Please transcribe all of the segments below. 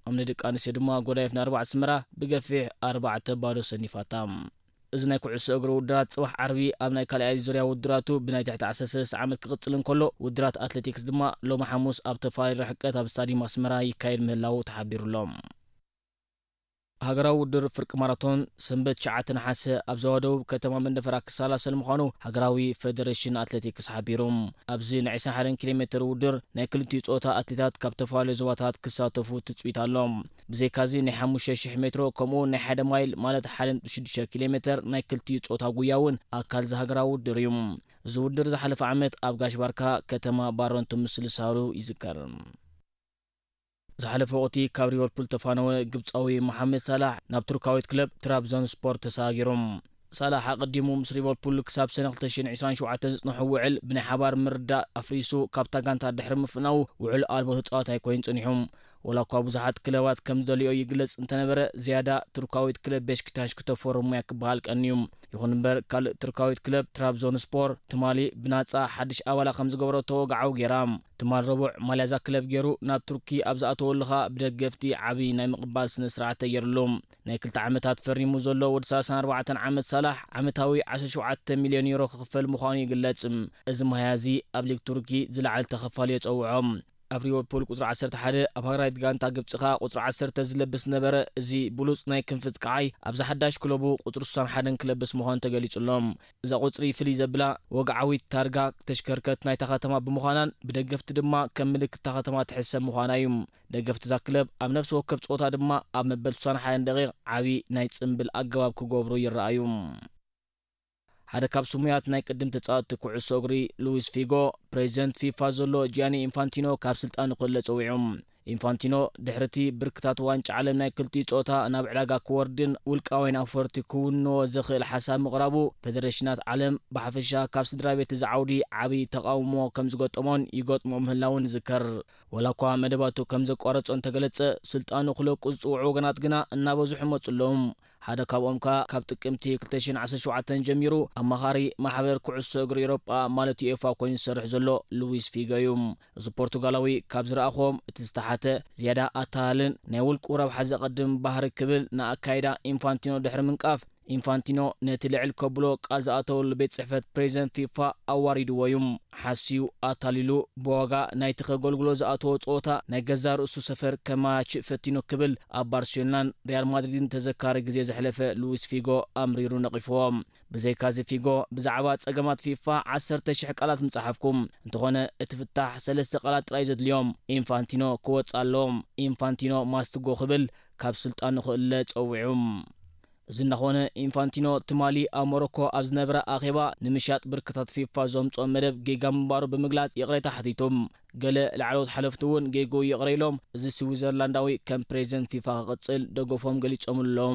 ኣብ ናይ ደቂ ኣንስትዮ ድማ ጎዳይፍ ናርባ ኣስመራ ብገፊሕ ኣርባዕተ ባዶ ሰኒፋታ። እዚ ናይ ኩዕሶ እግሪ ውድድራት ጽባሕ ዓርቢ ኣብ ናይ ካልኣይ ዙርያ ውድድራቱ ብናይ ትሕቲ ዓሰርተ ሰለስተ ዓመት ክቕጽል እንከሎ፣ ውድድራት ኣትሌቲክስ ድማ ሎሚ ሓሙስ ኣብ ተፈላለዩ ርሕቀት ኣብ ስታዲየም ኣስመራ ይካየድ ምህላዉ ተሓቢሩሎም። ሃገራዊ ውድድር ፍርቂ ማራቶን ሰንበት ትሽዓተ ነሓሰ ኣብ ዞባ ደቡብ ከተማ መንደፈራ ክሰላሰል ምዃኑ ሃገራዊ ፌደሬሽን ኣትሌቲክስ ሓቢሩ። ኣብዚ ናይ ዕስራን ሓደን ኪሎ ሜትር ውድድር ናይ ክልቲኡ ጾታ ኣትሌታት ካብ ተፈላለዩ ዞባታት ክሳተፉ ትጽቢት ኣሎ። ብዘይካዚ ናይ ሓሙሽተ ሽሕ ሜትሮ ከምኡ እውን ናይ ሓደ ማይል ማለት ሓደ ነጥቢ ሽዱሽተ ኪሎ ሜትር ናይ ክልቲኡ ጾታ ጉያ እውን ኣካል እዚ ሃገራዊ ውድድር እዩ። እዚ ውድድር ዝሓለፈ ዓመት ኣብ ጋሽ ባርካ ከተማ ባረንቱ ምስልሳሉ ይዝከር። ዝሓለፈ ወቕቲ ካብ ሊቨርፑል ተፋነወ ግብጻዊ መሓመድ ሳላሕ ናብ ቱርካዊት ክለብ ትራብዞን ስፖር ተሰጋጊሩ። ሳላሕ ኣቐዲሙ ምስ ሊቨርፑል ክሳብ ሰነ ክልተ ሽሕን ዕስራን ሸውዓተን ዝጽንሖ ውዕል ብናይ ሓባር ምርዳእ ኣፍሪሱ ካብታ ጋንታ ድሕሪ ምፍናዉ ውዕል ኣልቦ ተጻዋታይ ኮይኑ ጸኒሑ። ወላ እኳ ብዙሓት ክለባት ከም ዝደልዮ ይግለጽ እንተነበረ፣ ዝያዳ ቱርካዊት ክለብ ቤሽክታሽ ክተፈርሙ እያ ክበሃል ቀንዩ። ይኹን እምበር፣ ካልእ ቱርካዊት ክለብ ትራብዞን ስፖር ትማሊ ብናጻ ሓድሽ ኣባላ ከም ዝገበረቶ ወግዓዊ ገይራ። ትማል ረቡዕ ማልያ እዛ ክለብ ገይሩ ናብ ቱርኪ ኣብ ዝኣተወሉ ኸኣ ብደገፍቲ ዓቢ ናይ ምቕባል ስነ ስርዓት ተገይሩሉ። ናይ ክልተ ዓመታት ፈሪሙ ዘሎ ወዲ ሰላሳን ኣርባዕተን ዓመት ሳላሕ ዓመታዊ ዓሰርተ ሸውዓተ ሚልዮን ዩሮ ክኽፈል ምዃኑ ይግለጽ። እዚ ማህያ እዚ ኣብ ሊግ ቱርኪ ዝለዓለ ተኸፋሊ የጸውዖ። ኣብ ሊቨርፑል ቁጽሪ ዓሰርተ ሓደ፣ ኣብ ሃገራዊት ጋንታ ግብጺ ከኣ ቁጽሪ ዓሰርተ ዝለብስ ነበረ። እዚ ብሉጽ ናይ ክንፊ ኣጥቃዓይ ኣብዛ ሓዳሽ ክለቡ ቁጽሪ ስሳን ሓደን ክለብስ ምዃኑ ተገሊጹ ኣሎ። እዛ ቁጽሪ ፍልይ ዘብላ ወግዓዊት ታርጋ ተሽከርከት ናይታ ከተማ ብምዃናን ብደገፍቲ ድማ ከም ምልክት እታ ከተማ ትሕሰብ ምዃና እዩ። ደገፍቲ እዛ ክለብ ኣብ ነፍሲ ወከፍ ጸወታ ድማ ኣብ መበል ስሳን ሓደን ደቂቕ ዓቢ ናይ ጽምብል ኣገባብ ክገብሩ ይረኣዩ። ሓደ ካብ ስሙያት ናይ ቅድም ተጻወትቲ ኩዕሶ እግሪ ሉዊስ ፊጎ፣ ፕሬዚደንት ፊፋ ዘሎ ጂያኒ ኢንፋንቲኖ ካብ ስልጣኑ ክእለ ጸዊዑ። ኢንፋንቲኖ ድሕሪ እቲ ብርክታት ዋንጫ ዓለም ናይ ክልቲኡ ጾታ ናብ ዕዳጋ ክወርድን ውልቃውያን ኣውፈርቲ ክውንዎ ዘኽእል ሓሳብ ምቕራቡ፣ ፌደሬሽናት ዓለም ብሓፈሻ ካብ ስድራ ቤት እዚ ዓውዲ ዓቢ ተቓውሞ ከም ዝገጠሞን ይገጥሞ ምህላውን ይዝከር። ወላ እኳ መደባቱ ከም ዘቋረጾ እንተገለጸ፣ ስልጣኑ ክለቁ ዝጽውዑ ወገናት ግና እናበዝሑ መጹ ኣለዉ። ሓደ ካብኦም ከኣ ካብ ጥቅምቲ ክልተ ሽሕን ዓሰርተ ሸውዓተን ጀሚሩ ኣማኻሪ ማሕበር ኩዕሶ እግሪ ኤውሮጳ ማለት ዩኤፋ ኮይኑ ዝሰርሕ ዘሎ ሉዊስ ፊጎ እዩ። እዚ ፖርቱጋላዊ ካብ ዝረኣኹዎም እቲ ዝተሓተ፣ ዝያዳ ኣታላልን ናይ ውልቁ ረብሓ ዘቐድም ባህሪ ክብል ንኣካይዳ ኢንፋንቲኖ ድሕሪ ምንቃፍ፣ ኢንፋንቲኖ ነቲ ልዕል ከብሎ ቃል ዝኣተወሉ ቤት ጽሕፈት ፕሬዚደንት ፊፋ ኣዋሪድዎ እዩ። ሓስዩ ኣታሊሉ ብዋጋ ናይቲ ከገልግሎ ዝኣተዎ ጸወታ ናይ ገዛእ ርእሱ ሰፈር ከመያይሽ ፈቲኑ ክብል ኣብ ባርሴሎናን ሪያል ማድሪድን ተዘካሪ ግዜ ዘሕለፈ ሉዊስ ፊጎ ኣምሪሩ ነቒፍዎ። ብዘይካዚ ፊጎ ብዛዕባ ጸገማት ፊፋ ዓሰርተ ሽሕ ቃላት ምጸሓፍኩ። እንተኾነ እቲ ፍታሕ ሰለስተ ቃላት ጥራይ ዘድልዮም። ኢንፋንቲኖ ክወጽእ ኣለዎም። ኢንፋንቲኖ ማስትጎ ክብል ካብ ስልጣኑ ክእለ ጸዊዑ። እዚ እናኾነ ኢንፋንቲኖ ትማሊ ኣብ ሞሮኮ ኣብ ዝነበረ ኣኼባ ንምሻጥ ብርክታት ፊፋ ዘምጽኦ መደብ ጌጋ ምንባሩ ብምግላጽ ይቕሬታ ሓቲቱ። ገለ ላዕለዎት ሓለፍቲ እውን ጌግኡ ይቕረ ኢሎም፣ እዚ ስዊዘርላንዳዊ ከም ፕሬዚደንት ፊፋ ክቕጽል ደገፎም ገሊጾምሉ ኣለዉ።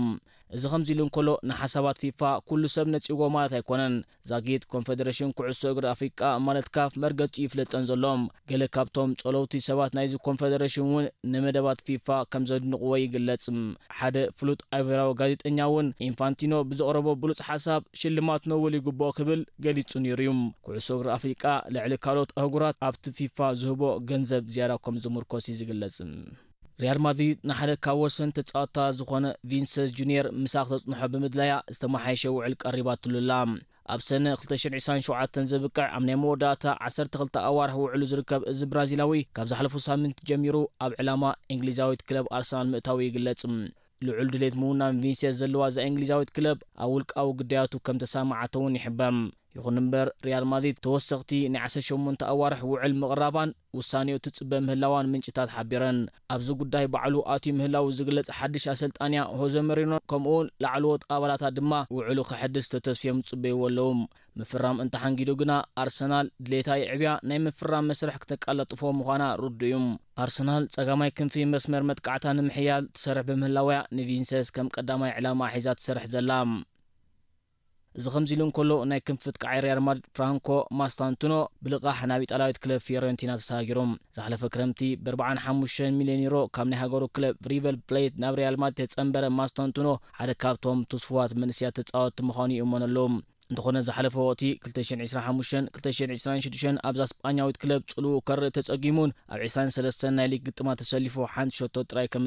እዚ ከምዚ ኢሉ እንከሎ፣ ንሓሳባት ፊፋ ኩሉ ሰብ ነጺግዎ ማለት ኣይኮነን። ዛጊት ኮንፈደሬሽን ኩዕሶ እግሪ ኣፍሪቃ ማለት ካፍ መርገጺኡ ይፍለጠን ዘሎ። ገለ ካብቶም ጸለውቲ ሰባት ናይዚ ኮንፈደሬሽን እውን ንመደባት ፊፋ ከም ዘድንቕዎ ይግለጽ። ሓደ ፍሉጥ ኣይቮራዊ ጋዜጠኛ እውን ኢንፋንቲኖ ብዘቕረቦ ብሉጽ ሓሳብ ሽልማት ኖበል ይግብኦ ክብል ገሊጹ ነይሩ እዩ። ኩዕሶ እግሪ ኣፍሪቃ ልዕሊ ካልኦት ኣህጉራት ኣብቲ ፊፋ ዝህቦ ገንዘብ ዝያዳ ከም ዝምርኮስ እዩ ዝግለጽ። ሪያል ማድሪድ ንሓደ ካብ ወሰንቲ ተጻወትታ ዝኾነ ቪንሰስ ጁኒየር ምሳእ ክተጽንሖ ብምድላያ ዝተመሓየሸ ውዕል ቀሪባትሉ ኣላ። ኣብ ሰነ ክልተ ሽሕን ዕስራን ሸውዓተን ዘብቅዕ ኣብ ናይ መወዳእታ ዓሰርተ ክልተ ኣዋርሕ ውዕሉ ዝርከብ እዚ ብራዚላዊ ካብ ዝሓለፉ ሳምንት ጀሚሩ ኣብ ዕላማ እንግሊዛዊት ክለብ ኣርሰናል ምእታዉ ይግለጽ። ልዑል ድሌት ምውናን ቪንሲየስ ዘለዋ እዛ እንግሊዛዊት ክለብ ኣብ ውልቃዊ ግዳያቱ ከም ተሰማማዓቶ እውን ይሕበር። ይኹን እምበር ሪያል ማድሪድ ተወሰኽቲ ናይ ዓሰርተ ሸሞንተ ኣዋርሕ ውዕል ምቕራባን ውሳኔኡ ትጽበ ምህላዋን ምንጭታት ሓቢረን። ኣብዚ ጉዳይ ባዕሉ ኣትዩ ምህላዉ ዝግለጽ ሓድሽ ኣሰልጣንያ ሆዘ መሪኖ ከምኡውን ላዕለዎት ኣባላታ ድማ ውዕሉ ክሕድስ ተተስፍዮም ዝጽበይዎ ኣለዉ። ምፍራም እንተሓንጊዱ ግና ኣርሰናል ድሌታ የዕብያ ናይ ምፍራም መስርሕ ክተቃላጥፎ ምዃና ርዱእ እዩ። ኣርሰናል ጸጋማይ ክንፊ መስመር መጥቃዕታ ንምሕያል ትሰርሕ ብምህላውያ ንቪንሰስ ከም ቀዳማይ ዕላማ ሒዛ ትሰርሕ ዘላ። እዚ ከምዚ ኢሉ እንከሎ ናይ ክንፊ ኣጥቃዓይ ሪያል ማድሪድ ፍራንኮ ማስታንቱኖ ብልቓሕ ናብ ኢጣልያዊት ክለብ ፊዮረንቲና ተሰጋጊሩ። ዝሓለፈ ክረምቲ ብ ኣርባዓን ሓሙሽተን ሚልዮን ዩሮ ካብ ናይ ሃገሩ ክለብ ሪቨር ፕሌት ናብ ሪያል ማድሪድ ተጸንበረ ማስታንቱኖ ሓደ ካብቶም ትስፉዋት መንእሰያት ተጻወትቲ ምዃኑ ይእመነሉ። እንተኾነ ዝሓለፈ ወቕቲ ክልተ ሽሕን ዕስራን ሓሙሽተን ክልተ ሽሕን ዕስራን ሽዱሽተን ኣብዛ ስጳኛዊት ክለብ ጽልኡ ከርኢ ተጸጊሙን ኣብ ዕስራን ሰለስተን ናይ ሊግ ግጥማት ተሰሊፉ ሓንቲ ሸቶ ጥራይ ከም